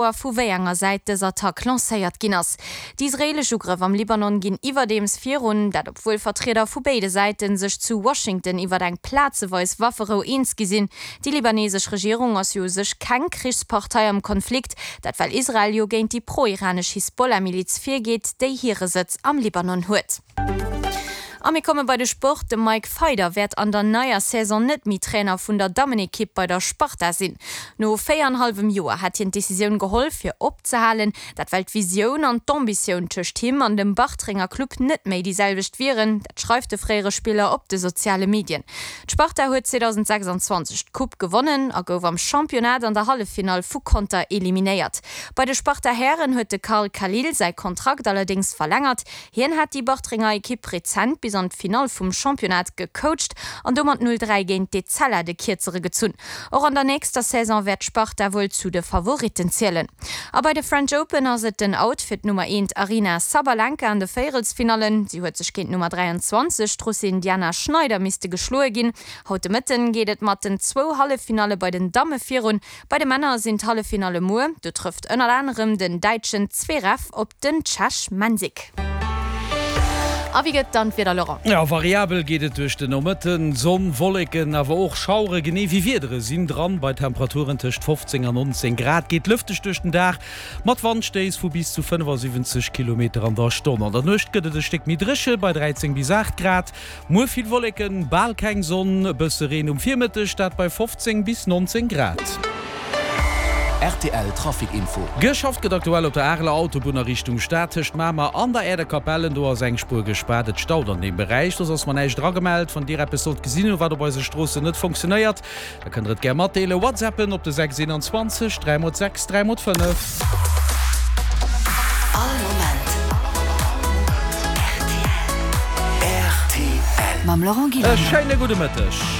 Vu wéi enger Säit dës Attack lancéiert ginn ass. Déi israeelesch Ugrëff am Libanon ginn iwwerdeems virun, dat obwuel Vertrieder vu béide Säite sech zu Washington iwwer eng plazeweis Wafferou eens gi sinn. Déi libanesesch Regierung ass jo u sech keng Krichspartei am Konflikt, dat well Israel jo géint déi pro-iranesch Hisbollah-Miliz virgeet, déi hire Sëtz am Libanon huet. A mir komme bei de Sport, De Mike Feyder wäert an der neier Saison net méi Trainer vun der Dammenekipp bei der Sparta sinn. No 4 an hallwem Joer hat hien d'Decisioun geholl fir opzehalen, dat well d'Visioun an d'Ambitioun tëscht him an dem Bartrenger Club net méi déi selwecht wieren. Dat schreift de fréiere Spiller op de soziale Medien. D'Sparta huet 2026 d'Coupe gewonnen a gouf am Championnat an der Halleffinall vu Conter eliminéiert. Bei de Sparta-Hären huet de Carl Khalil säi Kontrakt allerdéngs verlängert. Hien hat déi Bartrenger Ekipp rezent bis an d'Finall vum Championnat gecoacht an domat 0, 3 géint d'Etzella de Kierzere gezunn. Och an der nächster Saison wäert d'Sparta wuel zu de Favoritten zielen. A bei de French Open ass et den Out fir d'Nummer eent Aryna Sabalenka an de Véierelsfinallen. Si huet sech géint d'Nummer 23, d'Russin Diana Schneider, misste geschloe ginn. Haut de Mëtten geet et mat den zwou Halleffinalle bei den Damme virun. Bei de Männer sinn d'Halleffinalle muer. Do trëfft ënnert anerem den däitschen Zverev op den Tschech Mensik. A wéi gëtt dann d'Wieder, Laurent? Jo, variabel geet et duerch den Nomëtten. Sonn, Wolleken, awer och Schauere genee wéi Wiedere sinn dran. Bei Temperaturen tëscht 15 an 19 Grad geet lëfteg duerch den Dag, mat Wandstéiss vu bis zu 75 Kilometer an der Stonn. An der Nuecht gëtt et e Stéck méi dréche bei 13 bis 8 Grad. Muer vill Wolleken, bal keng Sonn, e bësse Reen um Virmëtteg, dat bei 15 bis 19 Grad. Rtl Trafic Info. Geschafft gëtt aktuell op der Areler Autobunn a Richtung Stad tëscht Mamer an der Äerdekapellen. Do ass eng Spuer gespaart, et staut an deem Beräich. Soss ass mer näischt eragemellt. Wann Dir eppes sollt gesinn hunn, wat op eise Stroossen net funktionéiert, Da kënnt der et gär matdeelen. Whatsappen op de 6 21 3 mol 6 3 mol 5. All Moment rtl. Mam Laurent E Guillaume. schéine gudde Mëtteg.